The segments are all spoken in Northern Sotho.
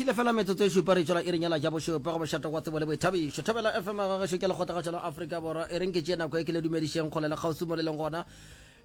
Šile fela metsotso e šupa re tšwela iring ya la ja bošupa go bošato gwa tsebo le boithabišo. Thobela FM ga gešo ke lekgotlagašo la Afrika Borwa. E reng ke tšee nako e ke le dumedišeng kgole le kgauswi mo le leng gona.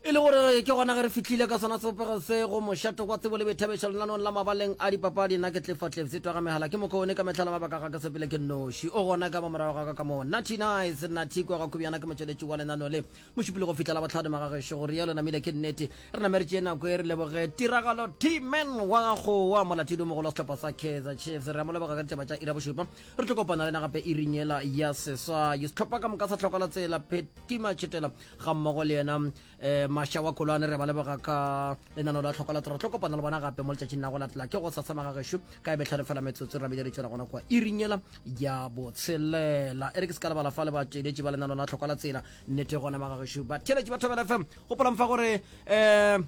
E le gore ke gona ge re fihlile ka sona sebopego se go mošato gwa tsebo le boithabišo lenaneong la mabaleng a dipapadi. Nna ke Clifford Cliffs twa ga megala ke mokone ka mehla le mabaka ga ke sepele ke nnoši. O gona ka mo morago ga ka ka mo. Natty Nice, Natty kwa ga Kubjana ke motšweletši wa lenaneo le. Mošupologo go fihla Labohlano magagešo go rialo namile ke nnete. Re name re tšee nako e re leboge Tiragalo T-Man wa Kgowa, molatedi o mogolo wa sehlopha sa Kaizer Chiefs. Re a mo leboga ka ditaba tša iri ya bošupa. Re tlo kopana le yena gape iring yela ya seswai. Sehlopha ka moka sa hloka la tsela, Pheti Matšhetela ga mmogo le yena um Masha wa Kolwane, re ba leboga ka lenaneo la hloka la tsela. Re tlo kopana le bona gape mo letšatšing la go latela ke go sasa magagešo ka e betlhano fela metsotso re namile re tšwela gona kwa iring yela ya botshelela. E re ke se ka lebala fa le batšweletši ba lenaneo la hloka la tsela. Nnete gona magagešo ba theletše ba Thobela FM. Gopolang fa gore um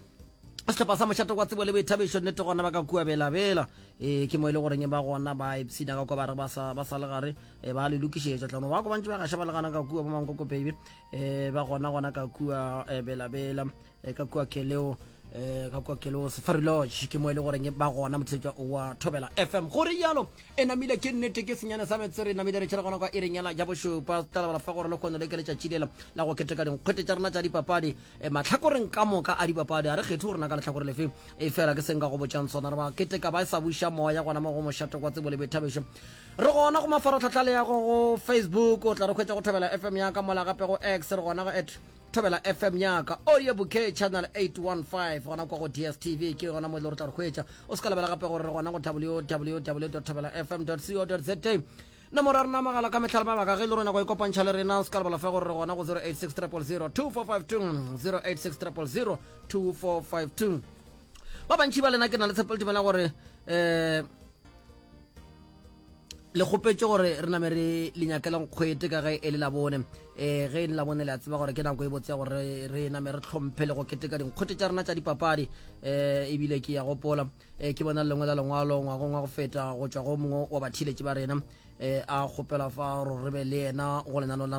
sehlopha sa mošate kwa tsebo le boithabišo nnete gona ba ka kua belabela e ke mo e le goreng ba gona ba ipshina ka kwa ba re ba sa ba sa le gare e ba le lokišetša tlano ba ko bantse ba gaša ba le gana ka kua bo mankoko baby e ba gona gona ka kua e belabela e ka kua keleo e ka kua keleo safari lodge ke mo e le goreng ba gona motheletša wa thobela fm gore jalo E namile ke nnete ke senyane sa metse re namile re tšhela gona kwa iring yela ja bošupa. Tla lebala fa gore lehono le ke letšatši lela la go keteka dinkgwete tša rena tša dipapadi e, mahlakoreng ka moka a dipapadi. A re kgethe gore na ka lehlakore lefe e fela ke seng ka go botšang sona. Re ba keteka ba sa buša moya gona mo go mošate kwa tsebo le boithabišo. Re gona go mafaratlhatlha le ya go go Facebook o tla re hwetša go Thobela FM ya ka mola gape go X re gona go at Thobela FM yaka Audio Bouquet Channel 815 gona kwa go DSTV ke gona mo e le gore tla re hwetša. O se ka lebala gape gore re gona go www.thobelafm.co.za. Nomoro ya rena magala ka mehla le mabaka ge e le rona go ikopantšha le rena o se ka lebala fa gore re gona go 086 000 2452 086 000 2452. Ba bantši ba lena ke na le tshepo le tumela gore um Le kgopetše gore re name re le nyakele nkgwete ka ge e le Labone. E, ge e le Labone le a tseba gore ke nako e botse ya gore re name re hlomphe le go keteka dinkgwete tša rena tša dipapadi. E, ebile ke ya gopola e, ke bona lengwe la lengwalo ngwagong wa go feta go tšwa go mongwe wa batheeletši ba rena e, a kgopela fa gore re be le yena go lenaneo la.